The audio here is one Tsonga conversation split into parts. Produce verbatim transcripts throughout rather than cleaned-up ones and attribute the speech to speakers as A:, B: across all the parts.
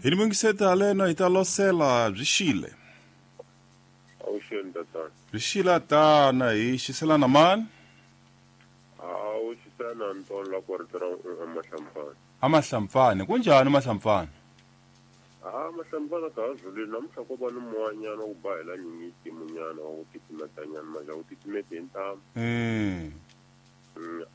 A: Hi ni mungiseta leno hi ta losela byi xile.
B: Avuxeni tatana.
A: Byi xile tana hi xiselana mani?
B: A wu xisana ntolo la ku rito ra amahlampfana.
A: Amahlampfana kunjani mahlampfana?
B: Ah mahlampfana ka zulini namuntlha ko va ni moyanyana ku ba hela nyingiti munyana wa ku titimetanyana manje a wu titimeti hi ntamu.
A: Mm.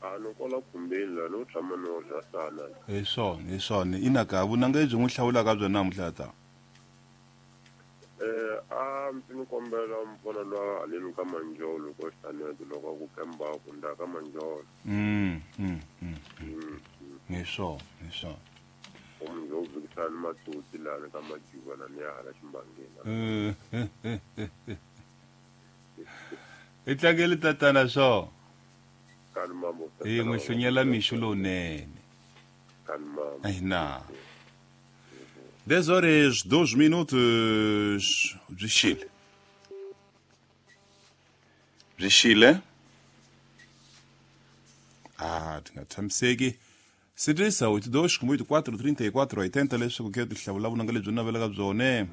B: A no kola khumbeni la no tshama no dya sana.
A: Hi swona, hi swona. Inaka vunanga lebyi n'wi hlawulaka byona namuntlha ta.
B: Eh a ndzi ni kombela mpfona lwa haleni ka Manjolo ko xitanete loko ku kemba ku nda ka Manjolo.
A: Mm mm mm. Hi swona, hi swona.
B: Omunye uvikisana matoti lana ka Majuva na ya hala ximbangeni.
A: Eh. I tlangele tatana swo.
B: Kani mambo.
A: Hi n'wi hlunyela mixo lowunene.
B: Kani mambo.
A: Ina. dez horas doze minutos byi xile. Byi xile. Ah, ti nga tshamiseki. Sirisa oito dois oito quatro trinta e quatro oitenta leswaku ke ti hlawula vunanga lebyi navelaka byone.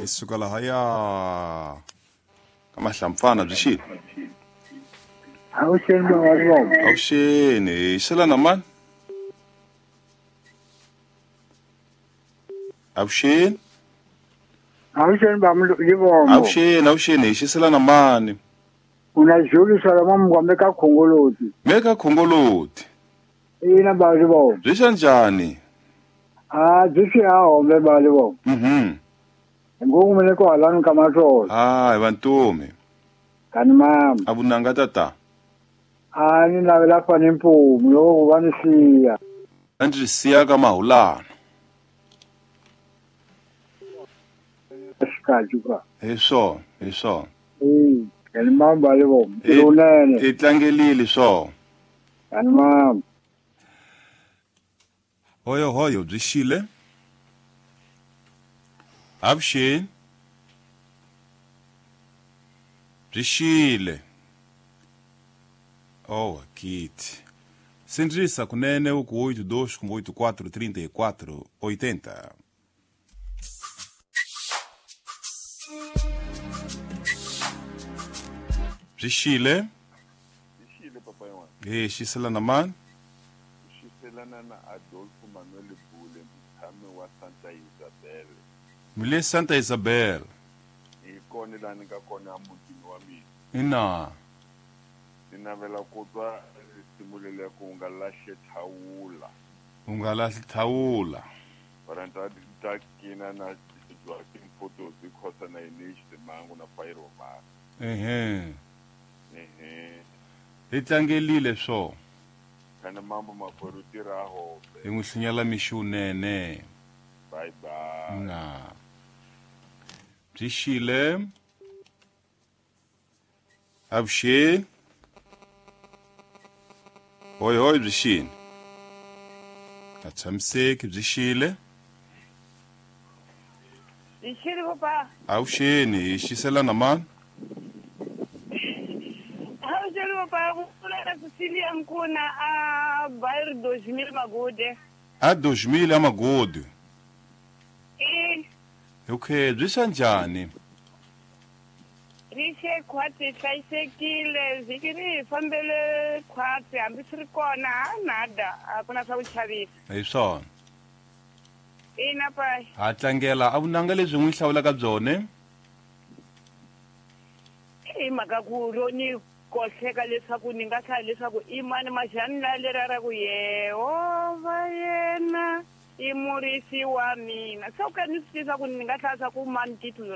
A: Hi suka lahaya ka mahlampfana byi xile.
C: Avuxeni mawalivongo.
A: Avuxeni, hi xelana mani? Avuxeni.
C: Avuxeni bamlivongo.
A: Avuxeni, avuxeni, hi xiselana mani?
C: Una Julius Solomon Mgombe ka Khongoloti.
A: Me ka Khongoloti.
C: Ina balivongo.
A: Byi xa njhani?
C: Ah, byi xi ha hombe balivongo.
A: Mhm.
C: Ngoku mele ko halani ka matlolo.
A: Ah, hi vantomi.
C: Kani mama.
A: A vunanga tata.
C: A ni navela fane mpumu loko va ni siya.
A: A ndzi siya ka mahulana.
C: Xikaju ka.
A: Hi swona, hi swona.
C: Eh, kani mama balivongo. Lonene.
A: I tlangelile swona.
C: Kani mama.
A: Hoyo hoyo byi xile. Avuxeni. Byi xile. Oh, kit. Sindrisa kunene uku oito dois oito quatro trinta e quatro oitenta. Byi xile.
D: Byi xile papai wa.
A: Eh, xiselana mani?
D: Xiselana na Adolfo Manuel Bule, mutshami wa Santa Isabel.
A: Mule Santa Isabel.
D: Hi kona laha ni nga kona emutini wa mina.
A: Ina.
D: Ni navela ku twa risimu leriya ku u nga lahli thawula.
A: U nga lahli thawula.
D: Varhandza ta kina na Joaquin Photos Khosa na Inish Simangu na Fairo Mara.
A: Ehe.
D: Ehe.
A: Hi tlangelile swo.
D: Kana mambo makwerhu tirha hombe.
A: Hi n'wi hlunyela mixo wunene.
D: Bye bye.
A: Na. Byi xile. Avuxeni. Hoi hoi byi xile. A tshamiseki byi xile.
E: Byi xile papa.
A: Avuxeni, hi xiselana mani?
E: Avuxeni papa, ku pfula Cecilia Nkuna a bairro dois mil Magude.
A: A dois mil a Magude.
E: Eh.
A: Okay, byi xa njhani?
E: Ri xe khwatsi hlayisekile, vhiki ri hi fambele khwatsi hambi swi ri kona ha nada, a ku na swa ku chavisa.
A: Hi swona.
E: Ina pai.
A: Ha tlangela a vunanga lebyi n'wi hlawulaka byone?
E: I mhaka ku ro ni kohleka leswaku ni nga hlaya leswaku i mani maxani la lera ra ku Yehovha yena i murisi wa mina. Se u ka ni swi tiva ku ni nga hlaya swa ku mani titulu